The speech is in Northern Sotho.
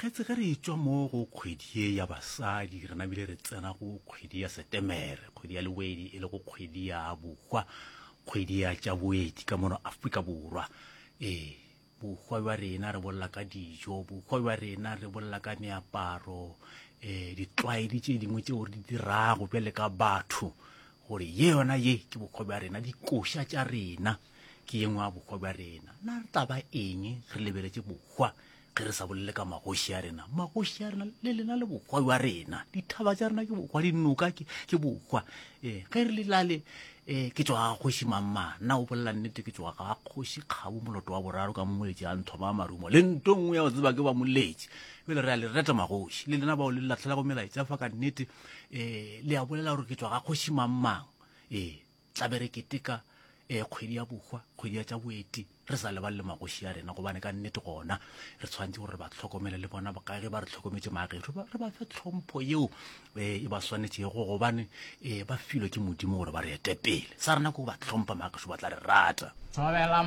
Mokgetse ge re etšwa mo go kgwedi ye ya basadi re nabile re tsena go kgwedi ya Setemere, kgwedi ya Lewedi e lego kgwedi ya bohwa, kgwedi ya tša boeti ka mono Afrika Borwa. Ee, bohwa bja rena re bolela ka dijo, bohwa bja rena re bolela ka meaparo, um ditlwaedi tše dingwe tšeo re di dirago bjale ka batho gore ye yona ye ke bohwa bja rena, dikoša tša rena ke ye nngwe ya bohwa bja rena. Na re tla ba eng re lebeletše bohwa ge re sa bolele ka magoši a rena? Magoši a rena le lena le bohwa bja rena, dithaba tša rena ke bohwa, dinoka ke, ke bohwa. Ee, ge re le lale um ke tšwa ga kgoši mangmang, nna o bolela nnete ke tšwa ga kgoši Kgabo Moloto wa boraro ka moletši a nthoma marumo le nto nngwe ya go tseba ke ba moletši. Bjale re a le reta magoši le lena bao le latlhelago melaetša fa ka nnete um le a bolela gore ke tšwa ga kgoši mangmang. Ee, tla be re keteka um kgwedi ya bohwa, kgwedi ya tša boeti, re sa lebale le magoši a rena, gobane ka nnete gona re tshwanetse gore re ba hlokomele le bona ka ge ba re hlokometše magešu, re ba fe tlhompho yeo um e ba swanetšego, gobane um ba filwe ke Modimo gore ba re ete pele. Sa rena ke go ba hlompha magešu, ba tla re rata. Thobela.